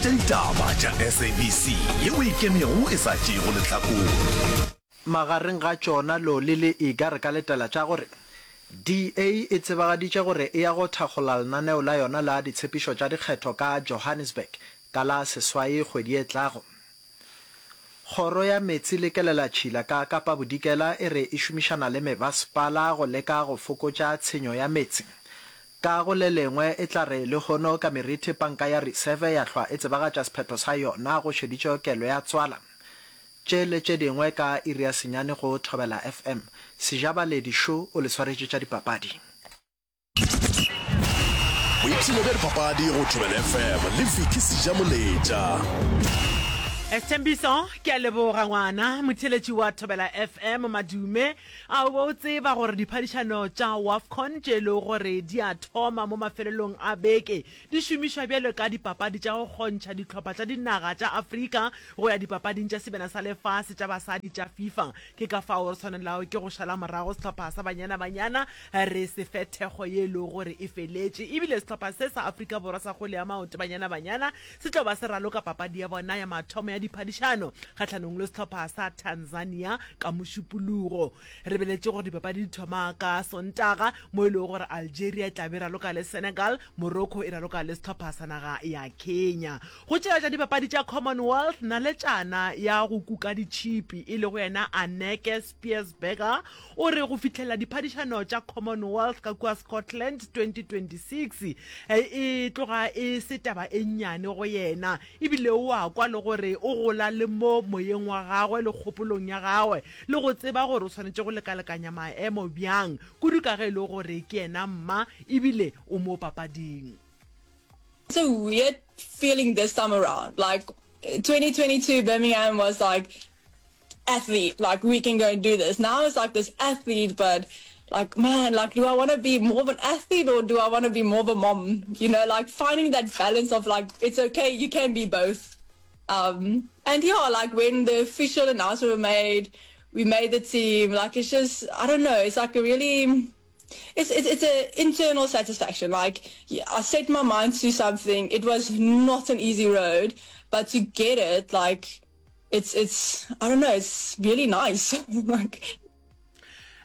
tša ditaba tša SABC yeo e ikemego e sa tšeego lehlakore. Magareng ga tšona Loli le Iga re ka letela tša gore DA e tsebagaditše gore e ya go thakgola lenaneo la yona la ditshepišo tša dikgetho ka Johannesburg ka la seswai kgwedi e tlago. Kgoro ya Meetse le Kelelatšhila ka Kapa Bodikela e re e šomišana le mebasepala go leka go fokotša tshenyo ya meetse. Ka go le lengwe e tla re lehono ka merithi panka ya Reserve ya hlwa e tsebagatša sephetho sa yona go šeditšwe kelo ya tswala. Tše le tše dingwe ka iri ya senyane go Thobela FM. Sejabaledi šo o le swaretše tša dipapadi. Boipshino bja dipapadi go Thobela FM le Vicky Sejamoletša. Sthembiso, Ke a leboga ngwana. Motheeletši wa Thobela FM, Madume, a o be o tseba gore diphadišano tša WAFCON tše e lego gore di a thoma mo mafelelong a beke di šomišwa bjalo ka dipapadi tša go kgontšha dihlopha tša dinaga tša Afrika go ya dipapading tša Sebjana sa Lefase tša Basadi tša FIFA? Ke ka fao re swanelago ke go šala morago sehlopha sa Banyana Banyana re se fe thekgo ye e lego gore e feletše. E bile sehlopha se sa Afrika Borwa sa kgwele ya maoto, Banyana Banyana, se tlo ba se raloka papadi ya bona ya mathomo ya diphadišano kgahlanong le sehlopha sa Tanzania ka Mošupologo. Re beletše gore dipapadi di thoma ka Sontaga mo e lego gore Algeria e tla be e raloka le Senegal, Morocco e raloka le sehlopha sa naga ya Kenya. Go tšela tša dipapadi tša Commonwealth, naletšana ya go kuka ditšhipi e lego yena Anneke Spiesberger o re go fihlelela diphadišano tša Commonwealth ka kua Scotland 2026 e tloga e se taba e nnyane go yena ebile o a kwa le gore o gola le mo moyeng wa gagwe le kgopolong ya gagwe le go tseba gore o swanetše go lekalekanya maemo bjang kudu ka ge e le gore ke yena mma ebile o mo papading. It's a weird feeling this time around. Like 2022 Birmingham was like athlete, like we can go and do this. Now it's like this athlete, but like man, like do I want to be more of an athlete or do I want to be more of a mom? You know, like finding that balance of like it's okay, you can be both. Um, and yeah, like when the official announcement were made, we made the team. Like it's just I don't know, it's like a really it's it's it's a internal satisfaction. Like I set my mind to something. It was not an easy road, but to get it, like it's it's I don't know, it's really nice. like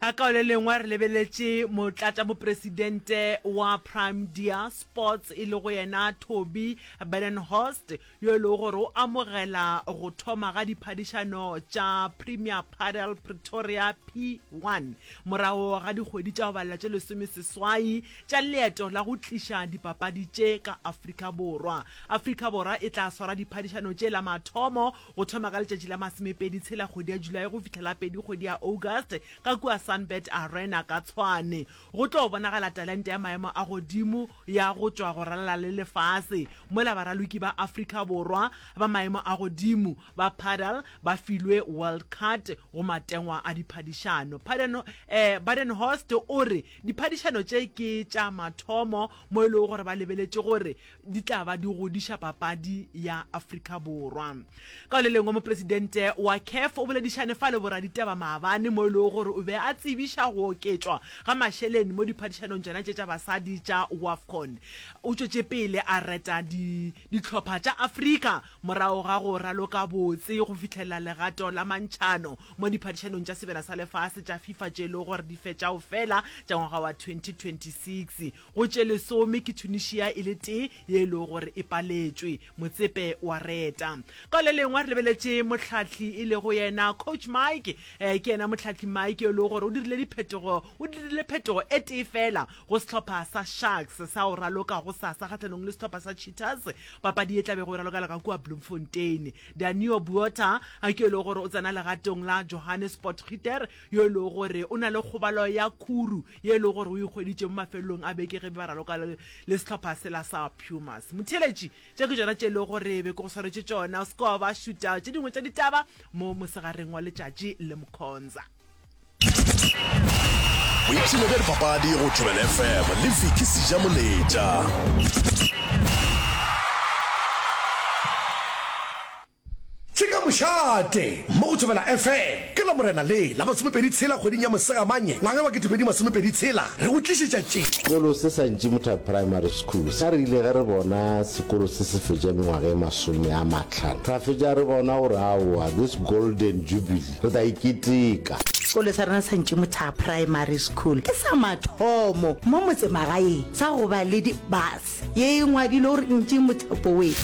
A ka le lengwe re lebeletše motlatšamopresidente wa Prime Deer Sports e lego yena Toby Badenhorst yo e lego gore o amogela go thoma ga diphadišano tša Premier Padel Pretoria P1 morago ga dikgwedi tša go balela tše lesomeseswai tša leeto la go tliša dipapadi tše ka Afrika Borwa. Afrika Borwa e tla swara diphadišano tše la mathomo go thoma ka letšatši la masomepedi tshela kgwedi ya Julae go fihla la pedi kgwedi ya August ka kua Sunbird Arena ka Tshwane. Go tlo bonagala talente ya maemo a godimo ya go tšwa go ralala le lefase mola baraloki ba Afrika Borwa ba maemo a godimo ba padel ba filwe World Card go matengwa a diphadišano. Badenhorst o re diphadišano tše ke tša mathomo mo e lego gore ba lebeletše gore di tla ba di godiša papadi ya Afrika Borwa. Ka le lengwe, mopresidente wa CAF o boledišane fa le boraditaba maabane mo e lego gore o be a tsebiša go oketšwa ga mašeleng mo diphadišanong tšona tše tša basadi tša WAFCON. O tšwetše pele a reta di dihlopha tša Afrika morago ga go raloka botse go fihlelela legato la mantšhano mo diphadišanong tša Sebjana sa Lefase tša FIFA tše e lego gore di fetša go fela tša ngwaga wa 2026. Go tše lesome ke Tunisia e le tee ye e lego gore e paletšwe. Motsepe wa reta. Ka le lengwe re lebeletše mohlahli e lego yena Coach Mike. Eh, ke yena mohlahli Mike yo e lego gore o dirile diphetogo, o dirile phetogo e tee fela go sehlopha sa Sharks sa go raloka gosasa kgahlanong le sehlopha sa Cheetahs, papadi ye tla bego e ralokela ka kua Bloemfontein. Danio Buota ke yo e lego gore o tsena legatong la Johannes Potgieter yo e lego gore o na le kgobalo ya khuru ye e lego gore o e hweditše mo mafelelong a beke ge be ba raloka le, le sehlopha sela sa Pumas. Motheeletši, tše ke tšona tše e lego gore be ke go swaretše tšona. O se ke wa ba šuta tše dingwe tša ditaba mo mosegareng wa letšatši le Mkhonza. Boipshino bja dipapadi go Thobela FM le Vicky Sejamoletša. Tšhika mošate mo go Thobela FM ke la. Lamorena le la masomepedi tshela kgweding ya Mosegamanye ngwaga wa 2026, re go tlišetša tše. Sekolo se sa Ntšimotha Primary School sa re ile ge re bona sekolo se se fetša mengwaga e masome a mahlano, ra fetša re bona gore aowa this golden jubilee re tla e keteka. Sekolo sa rena sa Ntšimotha Primary School ke sa mathomo mo motsemagaeng sa go ba le di-bus. Ye e ngwadilwe gore Ntši Mothapo we.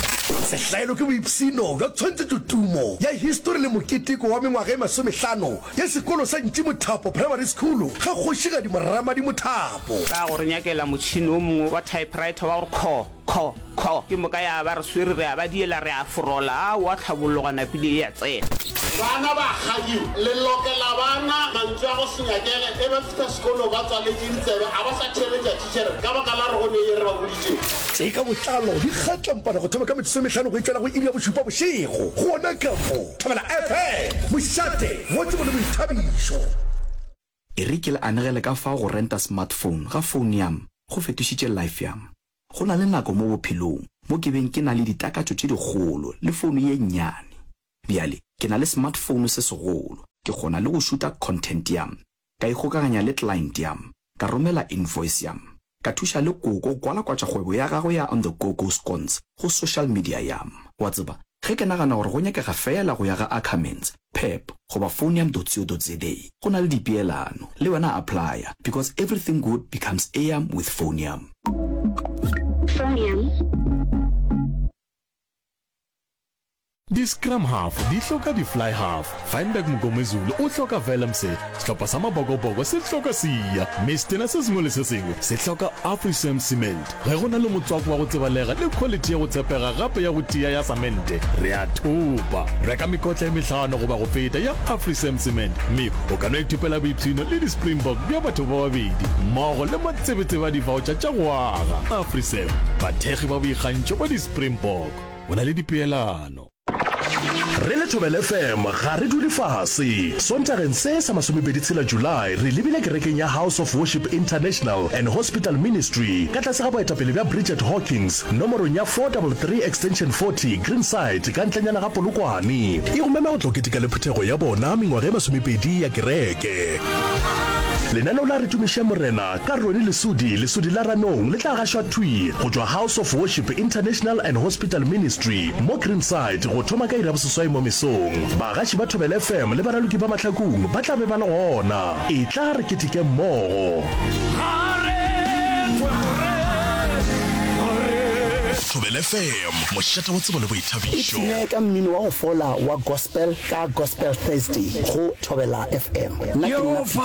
Sehlaelo ke boipshino bja tshwantšhetšotumo ya histori le moketeko wa mengwaga e masomehlano ya sekolo sa Ntši Mothapo Primary School ga Kgošigadi Moramadi Mothapo. Ka go re nyakela motšhene o mongwe wa typewriter wa gore kho, kho, kho, ke moka ya ba re swere re a ba diela re a forola, aowa tlhabollo gwa napile e a tsena. Bana ba kgadiwa. Le lokela bana mantswe a go se nyakege ge ba fihla sekolong ba tswaletše ditsebe a ba sa theeletša thitšhere ka baka la gore go ne ye re ba boditšeng. Tše ka botlalo di kgatlampana go thoma ka metsotso e mehlano go e tšwela go iri ya bošupa bošego gona ka mo Thobela FM, mošate wa tsebo le boithabišo. E re ke le anegele ka fao go renta smartphone ga phone yam go fetošitše life yam. Go na le nako mo bophelong mo ke beng ke na le ditakatšo tše dikgolo le founu ye nnyane. Bjale ke na le smartphone se segolo, ke kgona le go šuta content yam, ka ikgokaganya le client yam, ka romela invoice yam, ka thuša le koko go kwalakwatša kgwebo ya gagwe ya On The Go Go Scones go social media yam. Wa tseba, ge ke nagana gore go nyakega feela go ya ga Ackermans, Pep goba Phonium.co.za, go na le dipeelano. Le wena applya, because everything good becomes eyam with Phonium. Phonium. Di-scrum half di hloka di-fly half, Feinberg Mngomezulu o hloka Willemse, sehlopha sa Mabokoboko se hloka Siya, mme setena se sengwe le se sengwe se hloka Afrisem Cement. Ge go na le motswako wa go tsebalega le khwalithi ya go tshepega gape ya go tia ya samente, re a thopa. Reka mekotla e mehlano goba go feta ya Afrisem Cement mme o ka no ithopela boipshino le di-Springbok bja batho ba babedi mmogo le matsebetsebe a divaotšha tša go aga. Afrisem, bathekgi ba boikgantšho ba di-Springbok. Go na le dipeelano. Re le Thobela FM ga re dule fase. Sontageng se sa masomepedi tshela July re lebile kerekeng ya House of Worship International and Hospital Ministry ka tlase ga boetapele bja Bridget Hawkins nomorong ya 433 Extension 40 Greenside ka ntlenyana ga Polokwane. E go mema go tlo keteka le phuthego ya bona mengwaga e masomepedi ya kereke. Lenaneo la Re Tumiše Morena ka Ronnie Lesodi, Lesodi la Ranong, le tla gašwa thwi go tšwa House of Worship International and Hospital Ministry mo Greenside go thoma ka iri ya boseswai mo mesong. Bagaši ba Thobela FM le baraloki ba Mahlakung ba tla be ba le gona. Etla re keteke mmogo. Thobela FM, mošate wa tsebo le boithabišo. Ipshine ka mmino wa go fola wa gospel ka Gospel Thursday go Thobela FM. Nna ke nna Peter.